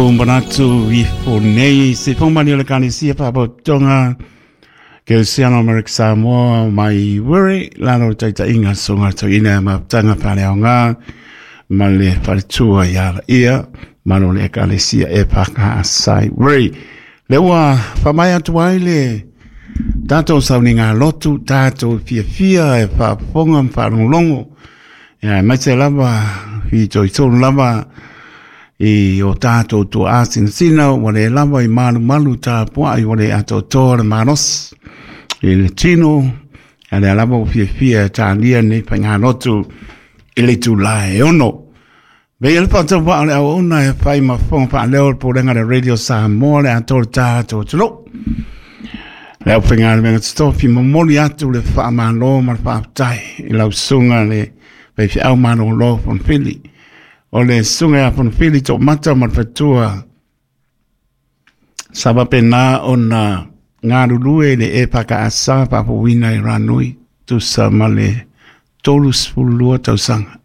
Manatu ifo nei se fomani o le Ekalesia Faalapotopotoga Kerisiano Amerika Samoa mai Wiri lalo o le taitaiga susuga toeaina mafutaga faaleaoga ma le faletua ia ia malo le Ekalesia e whakaasai Wiri. Le ua whamai atu ai le tātou sauniga lotu, tātou fiafia e whaafonga ma whaalongolongo. Ia, mai se lava, whitoitonu lava, i o tātou tua asinasina, ua le lava i malumalu tapuai, ua le atoatoa le malosi i le tino, a lea lava ua fiafia e tālia nei faigalotu i le itulā e 6. Vei le whaatau o le auauna e whai ma whonga whaaleo le Pulega le Radio Samoa le atoa le tātou atunuu. Le au whainga totofi momoli atu le whaamalo ma le whaafetai i lau susuga le faifeau malolo Fonofili. O le susuga ia Fonofili Toomata ma le fatua sa faapena ona galulue i le EFKS faafouina i Ranui tusa ma le 32 tausaga.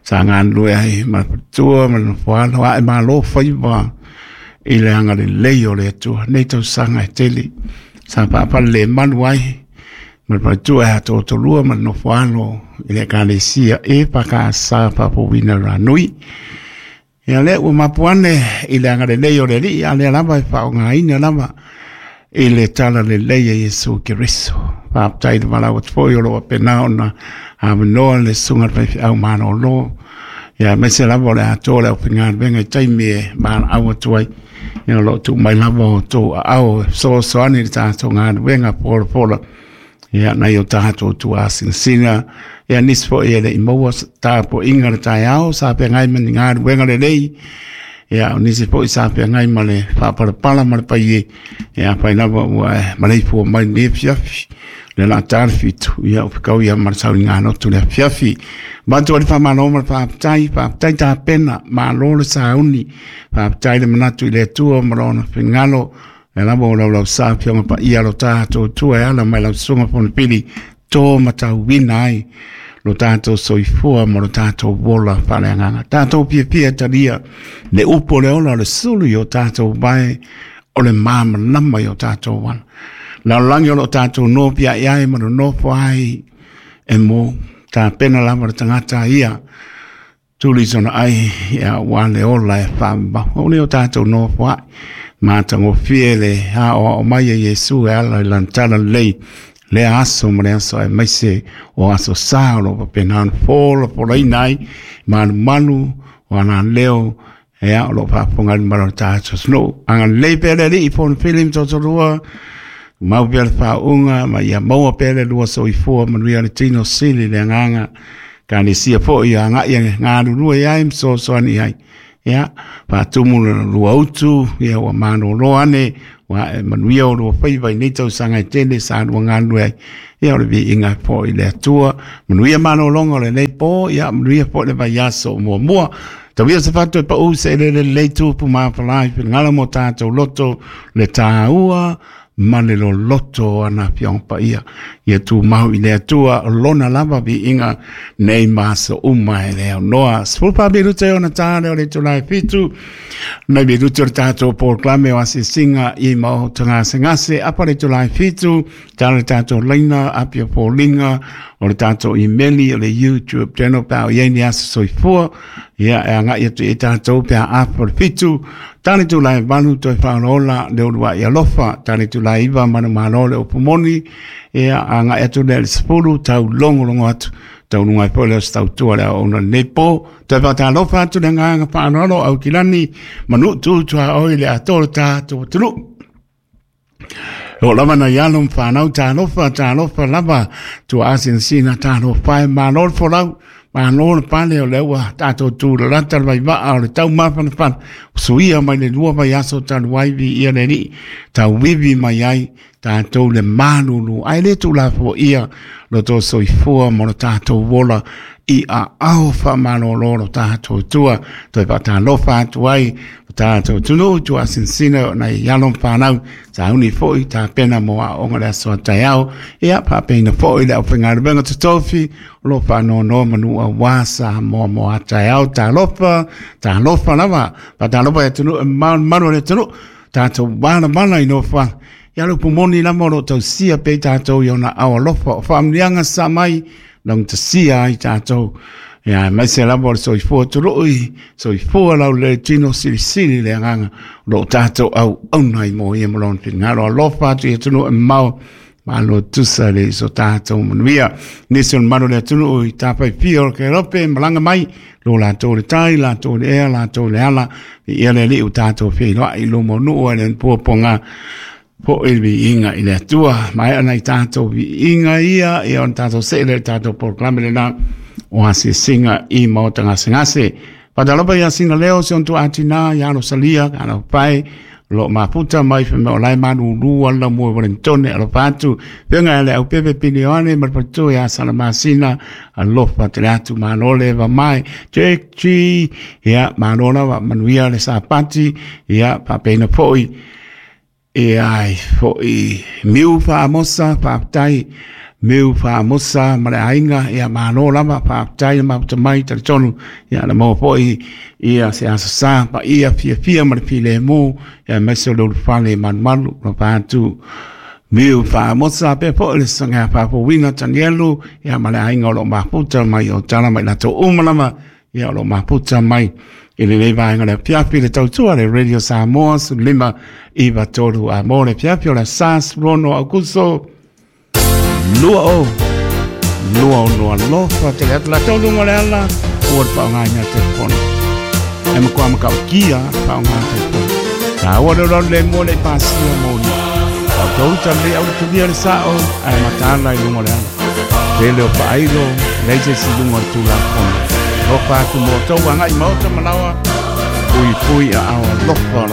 Sa galulue ai ma le fatua ma le nofoalo ae malo faiva i le agalelei o le Atua. Nei tausaga e tele sa faafalelemalu ai ma le faletua e atoatolua ma le nofoalo i le Ekalesia EFKS faafouina i Ranui. Ia lea ua mapu ane i le agalelei o le Alii, a lea lava e faaaogaina lava i le tala lelei a Iesu Keriso. Faafetai le valaau atu foi o lo o faapena ona avanoa le susuga i le faifeau malolo. Ia aemaise lava o le atoa o le aufaigaluega i taimi e valaau atu ai. Ia o lo o tuu mai lava o outou aao e fesoasoani i le tatou galuega folafola. Ia nai o tatou tuasinasina. Ia nisi foi e le i maua tapuaiga le taeao sa feagai ma ni galuega lelei. Ia o nisi foi sa feagai ma le faapalapala ma le paie. Ia afai lava ua e maleifua mai lenei afiafi. Le la ta le 7, ia o fekau ia ma le sauniga lotu le afiafi. Avatu ai le faamalo ma le faafetai, faafetai tapena, malo le sauni, faafetai le manatu i le Atua ma lona finagalo. Le lava o laulau sa fioga paia lo tātou tua e ala mai lau susuga Fonopili tō matauina ai lo tātou soifua ma lo tātou ola faaleagaga. Tātou fiafia talia le upu o le ola o le sulu i o tātou vae o le māmalama i o tātou ala. Lalolagi o lo tātou nofo ai ai ma nonofo ai e mo tapena lava le tagata ia tuli sona ai ia ua le ola e whaamau. O le o tātou nofo ai. Matagofie le aoao mai e Iesu e ala i lana tala lelei lea aso ma le aso aemaise o aso sa o lo o faapena ona folafolaina ai malumalu o ana leo e o lo o faafofoga ai le mamalu o le tatou atunuu. Agalelei pea le Alii Fonofili ma Totorua, mau pea le faauuga ma ia maua pea le lua soifua manuia le tino sili le agaga. Ekalesia foi ia agai e galulue ai ma fesoasoani ai. Ia, faatumu le lua utu, ia ua malolo ane, ua e manuia o lua faiva i nei tausaga e tele sa lua galulue ai. Ia o le viiga foi i le Atua. Manuia malologa o lenei po, ia manuia foi le vaiaso o muamua. Tauia se fatu e pau se elele lelei tupu mafala i finagalo mo tātou loto le tāua ma le loloto o ana afioga paia. Ia tumau i le Atua o lona lava viiga nei ma aso uma e le aunoa. 14 minute ona tā lea o le itula e 7. Nei minute o le tātou polokalame o asiasiga i maota gasegase. Apa le itula e 7, tā le tātou laina, apia foliga, o le tātou imeli, o le YouTube channel pe a o i ai ni aso soifua. Ia, e agai atu i tātou pe a apa le 7. Tā le itula e 8, toe whaolaola le uluai alofa. Tā le itula e 9, manumalo le upu moni. Ia, agai atu lea i le 10, tau logologo atu. Taunuga ai foi lea o se tautua le aoaoga lenei po. Toe faatalofa atu le agaga faaaloalo au kilani, manu tutuaoi le atoa o le tatou atunuu. O lava nai alo ma whanau, talofa, talofa lava, tua asinasina, talofa e malo le folau, malo le pale o le ua tātou tūlalata le vaivaa o le tau mafanafana, suia mai le lua vaiaso talu ai viia le Alii, tauivi mai ai tātou le malulu, ai le tulafoia lo tō soifua mo lo tātou ola i aao faamalolo lo tātou tua, toe faatalofa atu ai, Tatou atunuu tuasinasina o nai alo ma fanau sauni foi tapena mo aoga le aso a taeao. Ia faapeina foi le aufaigaluega totofi o lo o faanonomanu aua Samoa mo a taeao. Talofa, talofa lava, faatalofa i atunuu e mamao le malu o le atunuu, tatou valavala i nofoaga. Ia le upu moni lava o lo o tausia pea i tatou i ona ao alofa o faamanuiaga sa mai laugatasia ai tatou. Ia aemaise lava o le soifua tului, soifua laulelei tino silisili le agaga o lo o tatou auauna ai mo ia ma lona finagalo. Alofa atu i atunuu e mamao, malo tusa le so tatou manuia. Nisi o le mamalu o le atunuu i tafaifia o le Kerope malaga mai, lo latou le tai, latou le ea, latou le ala, ia le alii ua tatou feiloai i luma o nuu ai le puapuaga foi le viiga i le Atua. Maea nai tatou viiga ia, ia ona tatou see lea i le tatou polokalame lena o asiasiga i maota gasegase. Faatalofa ia Sina Leo, si ona tuaatinā ia Rosalia, Alofae, o lo o mafuta mai fai mai o la e malulu ala lau mua i Wellingtone, alofa atu. Feaga ia le Aupepe Pili Ioane ma le faletua ia Salamasina, alofa tele atu, malo le eva mai. Jack G, ia malo lava, manuia le Sapati, ia faapeina foi. E ai foi Miu Faamosa, faafetai Miu Faamosa ma le aiga, ia malo lava, faafetai le mafuta mai, talitonu, ia na maua foi ia se aso sa paia fiafia ma le filemu, ia aemaise o le ulufale malumalu, alofa atu Miu Faamosa, pea foi le saga faafouina Tanielu, ia ma le aiga o lo o mafuta mai o tala mai latou uma lava, ia o lo o mafuta mai i lenei vaega o le afiafi le tautua le Radio Samoa 1593 a mo le afiafi o le aso 16 Aokuso 2026. Alofa tele atu latou luga o le ala ua le faaaogaina le telefoni. E matua matautia le faaaoga telefoni. Taua le olaola le mua le i pasia moli. Tatou uta le au le tulia le sao ae mataala i luga o le ala. Tele o faailo, leai se isi i luga o le Tulafono. Alofa atu mo outou agai maota ma laoa, pui pui aao alofa o lo